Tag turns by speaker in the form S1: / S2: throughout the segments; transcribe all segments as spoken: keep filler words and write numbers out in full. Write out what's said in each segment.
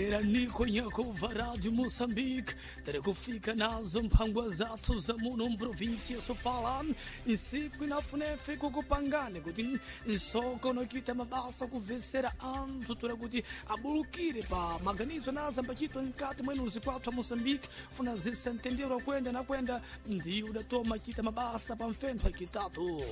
S1: Era niko nyakova Rádio Moçambique tere kufika nazo mphangwa zathu za muno mprovinsia ya Sofala nsiku inafunefe kukupangane kuti nsoko nokuita mabasa kuvesera anthu tura kuti abulukire pa maganizo naza mbachitwa nkati mwenuzi kwathu a Moçambique funa zisentendero kwenda na kwenda ndiyo udatoma chita mabasa pa mfentho akitatu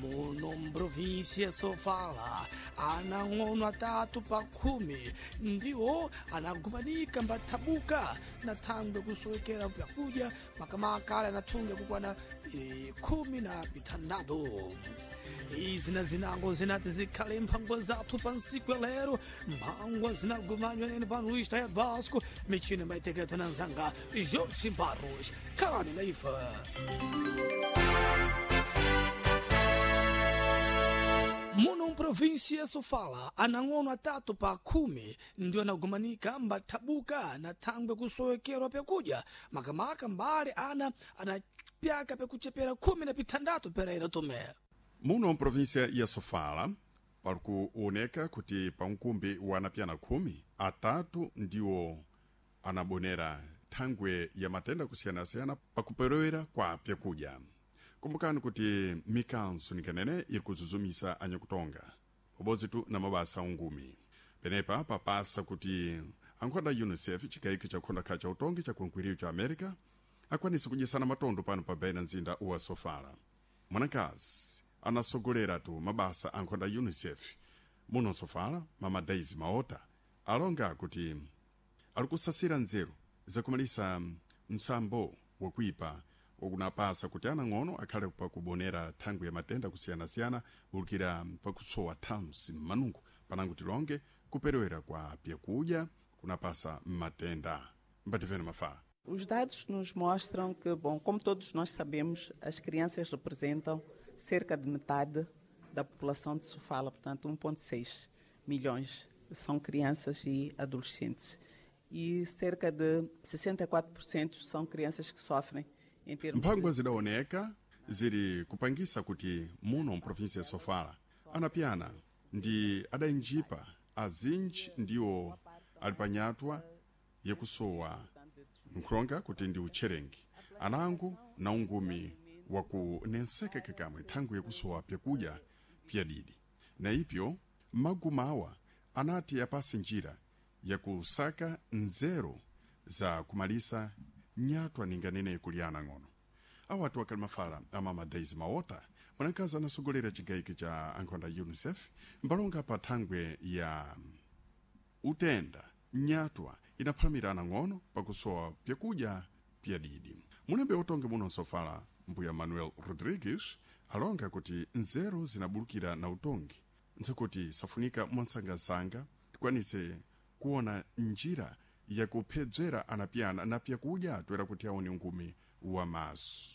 S1: muno mprovinsia Sofala anang'ono atatu pa khumi ndiwo anagumanika mbathabuka na thangwe kusowekera vyakudya makamaka anathunga kukwana e, khumi na pithandatu. Izi na zinango zinati zikhale mphangwa zathu pa nsiku ya lero, mphangwa zinagumanywa nene pano Luís Taia Vasco michini maiteketwa na nzanga Jorge Barros khalani na ife. Muno mprovinsia Sofala anang'ono atatu pa khumi ndio anagumanika mbathabuka na thangwe kusowekerwa pyakudya makamaka mbale ana anapyaka pyakuchepera khumi na pithandatu peraira tome.
S2: Muno mprovinsia ya Sofala pali kuoneka kuti pa mkumbi wa anapyana khumi atatu ndiwo anabonera thangwe ya matenda kusiyanasiyana pakuperewera kwa pyakudya. Kumbukani kuti mikanso nikanene iri kuzuzumisa anyakutonga pabodzi tu na mabasa ungumi. Penepa papasa kuti ankhonda UNICEF chikayiko cha kha cha utongi cha kunkwiriyo cha America akwanise kudyesana matondo pano pa baina mzinda wa Sofala. Mwanakazi anasogolera tu mabasa ankhonda UNICEF muno Sofala, mama Daisy Maota, alonga kuti ali kusasira nzeru zakumalisa msambo wakuipa wakunapasa kuti anang'ono akhale pakubonera thangwi ya matenda kusiyanasiyana bulukira pakusowa thansi m'manungo panango tilonge kuperewera kwa pyakudya kunapasa matenda. Mbativene mafala.
S3: Os dados nos mostram que, bom, como todos nós sabemos, as crianças representam cerca de metade da população de Sofala, portanto um ponto seis milhões são crianças e adolescentes. E cerca de sessenta e quatro por cento são crianças que sofrem em termos
S2: Mphangwa
S3: de...
S2: zidaoneka ziri kupangisa kuti muno mprovinsia ya Sofala anapyana ndi adainjipa azinji ndiwo ali panyatwa yakusowa nkhulonga kuti ndi utcherengi anango na ungumi wakunenseka kakamwe thangwi yakusowa pyakudya pyadidi. Na ipyo magumawa anati apase njira yakusaka nzeru za kumalisa nyatwa ninganene kuliana ng'ono. Awatu akali mafala amama Daisy Maota, mwanakazi anasogolera chigayiko cha ankhonda UNICEF mbalonga pa thangwe ya utenda nyatwa inaphalamira ng'ono pakusowa pyakudya pyadidi. Mulembe utonge muno Sofala mbuya Manuel Rodrigues alonga kuti nzeru zinabulukira na utongi nzakuti safunika mwansangasanga tikwanise kuona njira yakuphedzera anapyana na pyakudya toera kuti aone ungumi wa maso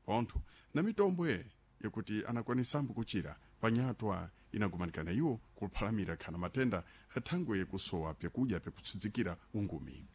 S2: pontho na mitombwe yakuti anakwanisambo kuchira panyatwa inagumanikana iwo kuphalamira khana matenda athangwe yakusowa pyakudya pyakutsudzikira ungumi.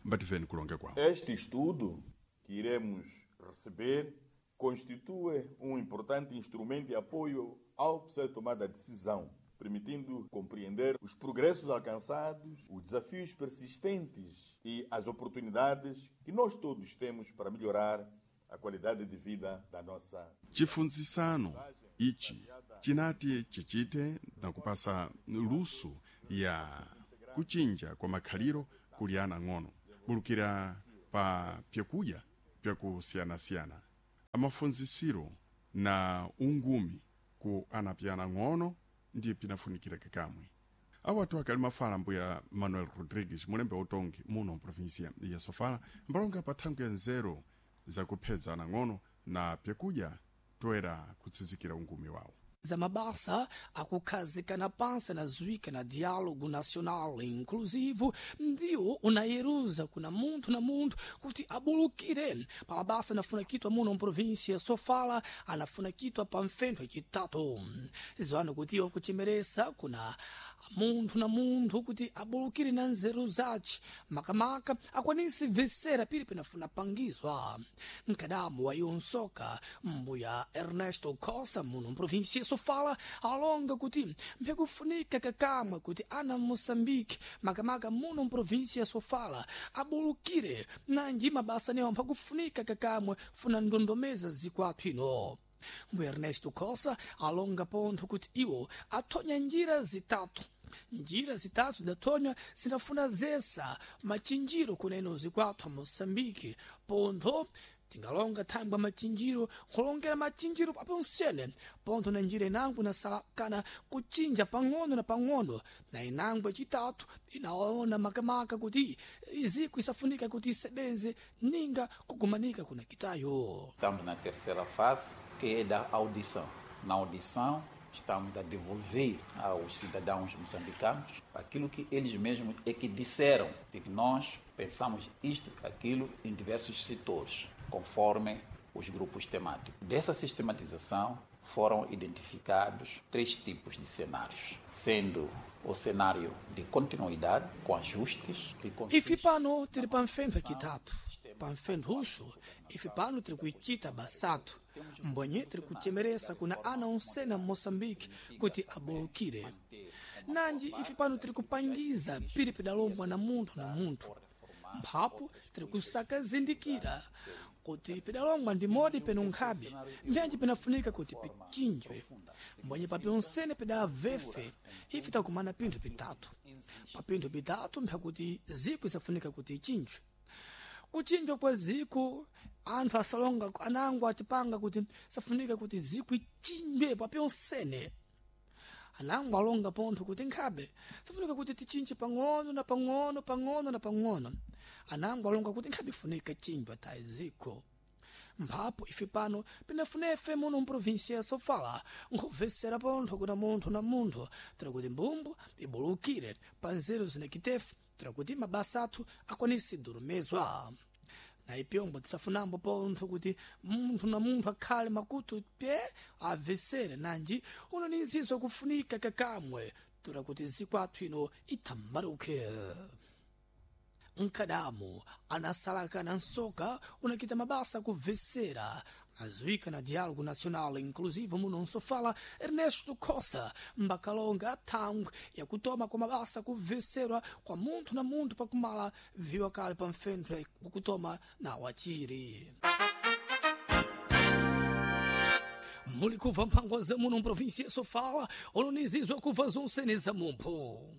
S2: Mbativeni kulonga kwawo.
S4: Este estudo que iremos receber constitui um importante instrumento de apoio ao processo de tomada de decisão, permitindo compreender os progressos alcançados, os desafios persistentes e as oportunidades que nós todos temos para melhorar a qualidade de vida da nossa.
S2: Chifunzisano ichi chinati chichite na kupasa luso ya kuchinja kwa makhaliro kuli ana ng'ono bulukira pa pyakudya pyakusiyanasiyana amafunzisiro na ungumi ku anapyana ng'ono ndiye pinafunikira kakamwe. Awatu akali mafala mbuya Manuel Rodrigues mulembe utongi muno mprovinsia ya Sofala mbalonga pa thangwi ya nzeru zakuphedza anang'ono na pyakudya toera kutsinzikira ungumi wawo.
S1: Za mabasa akukhazikana pansi na zwika na diálogo nacional inclusivo ndiwo unayeruza kuna munthu na munthu kuti abulukire pa mabasa anafuna kitwa muno mprovinsia Sofala anafuna kitwa pa mfentho yacitatu. Ziwano kuti iwo kuchemeresa kuna Munthu na munthu kuti abulukire na nzeru zace, makamaka akwanise vesera pili penafuna pangizwa. Mkadamu wa yonsoka mbuya Ernesto Costa muno mprovinsia ya Sofala alonga kuti mpyakufunika kakamwe kuti ana Moçambique makamaka muno mprovinsia ya Sofala abulukire nanji mabasa newo mphakufunika kakamwe funa ndondomeza zikwathu ino. Mbuya Ernesto Costa alonga pontho kuti iwo athonya njira zitatu. Njira zitatu zidathonywa zinafuna zesa machinjiro kuneno zikwathu Moçambique. Pontho tingalonga thangwa machinjiro, nkulongera machinjiro paponsene. Pontho na njira inango inasala kana kuchinja pang'ono na pang'ono, na inango yacitatu inaona makamaka kuti iziko isafunika kuti isebenze ninga kugumanika kuna kitayo.
S5: Estamos na terceira fase, que é da audição. Na audição, estamos a devolver aos cidadãos moçambicanos aquilo que eles mesmos é que disseram, de que nós pensamos isto, aquilo, em diversos setores, conforme os grupos temáticos. Dessa sistematização foram identificados três tipos de cenários, sendo o cenário de continuidade, com ajustes, que consiste...
S1: Ife pano tiri pamfentho acitatu, pamfentho uxo, ife pano tiri kuicita basatu, mbwenye tiri kuchemeresa kuna ana onsena Moçambique kuti abolukire. Nanji ife pano tiri kupangiza piri pidalombwa na munthu na munthu. Mphapo tiri kusaka zindikira kuti pidalongwa ndi modi peno nkhabe, mbyanji pinafunika kuti pichinjwe. Mbwenye papyonsene pidavefe ife takumana pinthu pitatu. Pa pinthu pitatu mphakuti ziko isafunika kuti ichinjwe. Kuchinjwa kwa ziko anthu asalonga anango atipanga kuti safunika kuti ziko ichinjwe papyonsene. Anango alonga pontho kuti nkhabe safunika kuti tichinje pang'ono na pang'ono pang'ono na pang'ono. Anango alonga kuti nkhabe ifunika chinjwa tayi ziko. Mphapo ife pano pinafunefe muno mprovinsia ya Sofala nkubvesera pontho kuna munthu na munthu tira kuti mbumbu ibulukire pa nzeru zinakitefe tira kuti mabasa athu akwanise durumezwa. Na ipyombo tisafunambo pontho kuti munthu na munthu akhale makutu pye abvesere nanji uno ni nzizo kufunika kakamwe tura kuti zikwathu ino ithambaruke. Mkadamu anasalaka na nsoka unakita mabasa kubvesera azuika na Diálogo Nacional Inclusivo muno nsofala Ernesto Costa mbakalonga thangwe yakutoma kwa mabasa kubveserwa kwa munthu na munthu pakumala viwa kale pa mfentho wakutoma na wachiri. Muli kubva mphangwa za muno mprovinsia ya Sofala ononizizwa kubva zonsene za mumpho.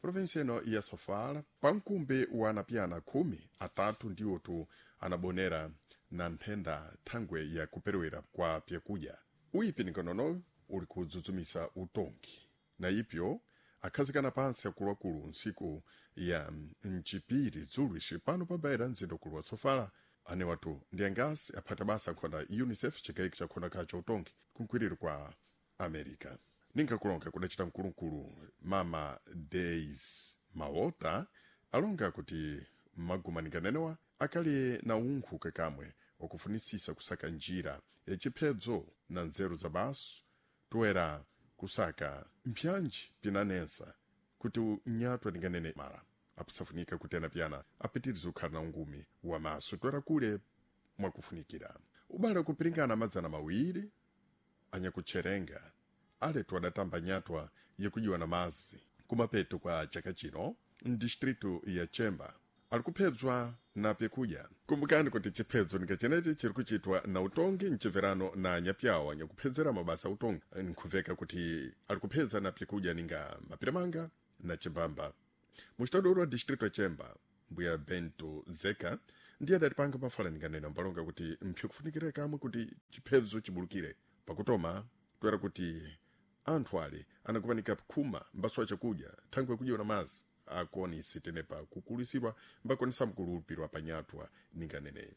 S2: Provinsia ino ya Sofala pamkumbi wa anapyana khumi atatu ndiwotu anabonera na nthenda thangwe ya kuperewera kwa pyakudya. Uyipi ningonono uli kudzudzumisa utongi na ipyo akhazikana pansi akuluakulu ntsiku ya mchipiri dzulo ixi pano pabayira mzinda ukulu wa Sofala. Anewatu ndi angasi aphata basa akhonda UNICEF chikayiki chakhonda khacha utongi kunkwiriro kwa America. Ninkakulonga kudacita mkulukulu Mama Days Maota alonga kuti magumanikanenewa akali na unkhu kakamwe wakufunisisa kusaka njira yachiphedzo na nzeru za basu toera kusaka mpyanji pinanensa kuti nyatwa ninganene mala apusafunika kuti anapyana apitirize kukhala na ungumi wa maso toera kule mwakufunikira. Ubale kupiringana madzana mawiri anyakutcherenga aletu adatamba nyatwa yakujiwa na mazi kumapeto kwa chaka chino mdistritu ya Chemba ali kuphedzwa na pyakudya. Kumbukani kuti chiphedzo ningachenechi chiri kuchitwa na utongi mchimverano na nyapyawo anyakuphedzera mabasa utongi nkhuveka kuti ali kuphedza na pyakudya ninga mapiramanga na chimbamba. Muxitadoro wa distritu ya Chemba mbuya Bento Zeka ndiye adatipanga mafala ninganena mbalonga kuti mphe kufunikira kamwe kuti chiphedzo chibulukire pakutoma toera kuti anthu ale anakupanika khuma mbaso chakudya thangwe kudya na mazi akonisi tenepa kukulisiwa mbakonisa mkulupirwa panyatwa ninganene.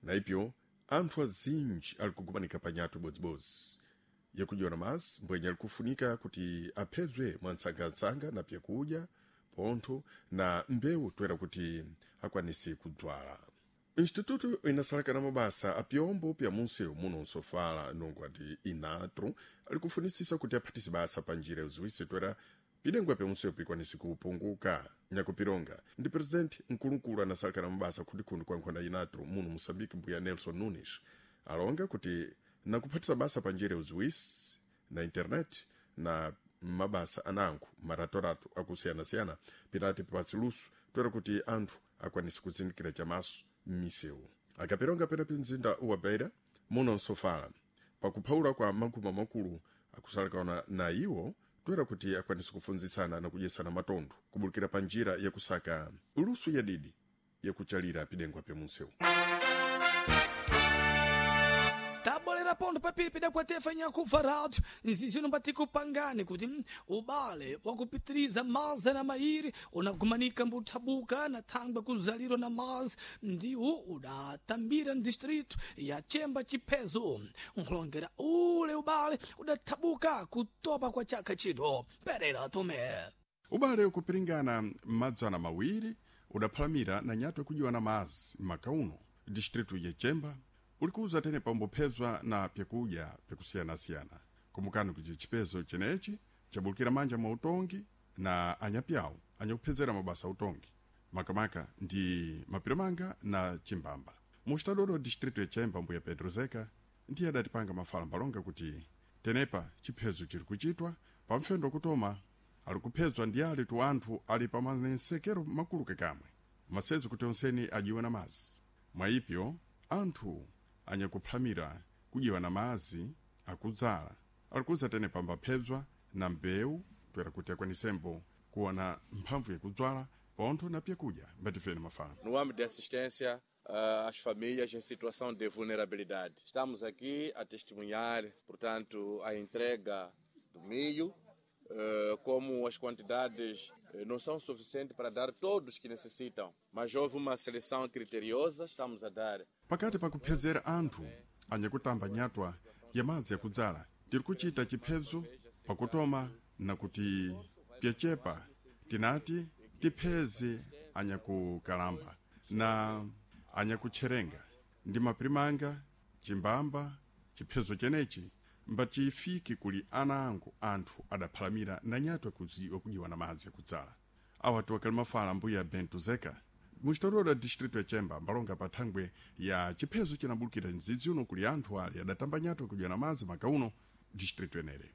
S2: Na ipyo anthu azinji ali kugumanika panyatwa ibodzibodzi yakudya na mazi mbwenye ali kufunika kuti aphedzwe mwantsangatsanga na pyakudya pontho na mbewu toera kuti akwanise kudzwala. Instituto inasalakana mabasa apyombo pya munsewu muno nsofala nongo ati inatro ali kufunisisa kuti aphatise basa pa njira yoziwisi toera Pidengwa pya pikwanisi kupunguka. Nyakupironga ndi presidenti mkulukulu anasalekana mabasa khundikhundi kwa nkhonda inatru muno Moçambique, mbuya Nelson Nunes, alonga kuti nakuphatisa basa pa njira ya uziwisi na internet na mabasa anango maratorato akusiyana-siyana pinati pasi luso toera kuti anthu akwanise kuzindikira chamaso m'misewu. Akapironga pena mzinda wa Beira muno Sofala pakuphawula kwa maguma makulu akusalekana na iwo toera kuti akwanise kufunzitsana na kudyesana matondo kubulukira pa njira yakusaka luso yadidi yakuchalira pidengwa pya munsewu.
S1: Tabolera pondo papiri pidakwatefa nyakuva rádio nzizino mbatikupangani kuti ubale wakupitiriza maza na mairi unagumanika mbuthabuka na thangwe kuzaliro na mazi ndiwo udatambira mdistrito ya Chemba chiphezo nkhulongera ule ubale udathabuka kutopa kwa chaka chino. Perera Tume.
S2: Ubale ukupiringana madzana mawiri udaphalamira na nyatwa kujiwa na mazi makauno distritu ya Chemba ulikuza tene pambophezwa na pyakudya pyakusiyanasiyana. Kumbukani kuti chipezo chenechi chabulukira manja mwa utongi na anyapyawo anyakuphezera mabasa utongi makamaka ndi mapiramanga na chimbamba. Muxitadolo distritu ya Chemba, mbuya Pedro Zeka ndiye adatipanga mafala mbalonga kuti tenepa chiphezo chiri kuchitwa pamfendo kutoma ali kuphezwa ndi ali tu anthu ali pa manensekero makulu kakamwe masezo kuti onseni ajiwe na mazi. Mwayipyo anthu anyakuphamira kujiwa na mazi akudzala alikuza tene pambaphezwa na mbewu toera kuti akwanisembo kuona mphamvu yakudzwala pontho na pyakudya mbatifeni mafala.
S6: No âmbito de assistência uh, às famílias em situação de vulnerabilidade, estamos aqui a testemunhar, portanto, a entrega do milho, uh, como as quantidades não são suficientes para dar todos que necessitam, mas houve uma seleção criteriosa, estamos a dar.
S2: Pakati pakuphezera anthu anyakutamba nyatwa ya madzi yakudzala tiri kuchita chiphezo pakutoma na kuti pyachepa tinati tipheze anyakukalamba na anyakutcherenga ndi mapirimanga chimbamba. Chiphezo chenechi mbachifike kuli ana angu anthu adaphalamira na nyatwa kujiwa na madzi akudzala. Awa tiwakali mafala mbuya Bento Zeka muxitolola distrito ya Chemba mbalonga pa thangwe ya chiphezo chinabulukira mdzidzi uno kuli anthu ali adatamba nyatwa kujiwa na madzi makauno distrito enere.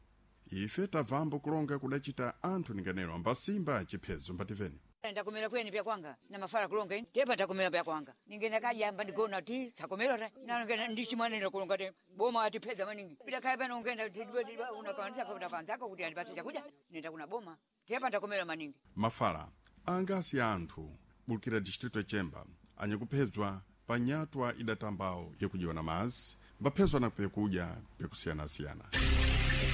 S2: Ife tabvambo kulonga kudachita anthu ninganeno ambasimba chiphezo mbativeni.
S7: Ndakomera kweni pya kwanga na mafara kulonga ini tepa ndakomera pya kwanga ningenda kajamba ndigona ti sakomera ta nangena ndichimwanena kulonga te boma atipedza maningi pita kaya pano ungenda unakanza kuta kanzako kuti andipatse chakudya nenda kuna boma tepa ndakomera maningi.
S2: Mafala angasi anthu bulukira distrito ya Chemba anyakuphedzwa pa nyatwa idatambawo yakujiwa na mazi mbaphezwa na pyakudya pyakusiyanasiyana.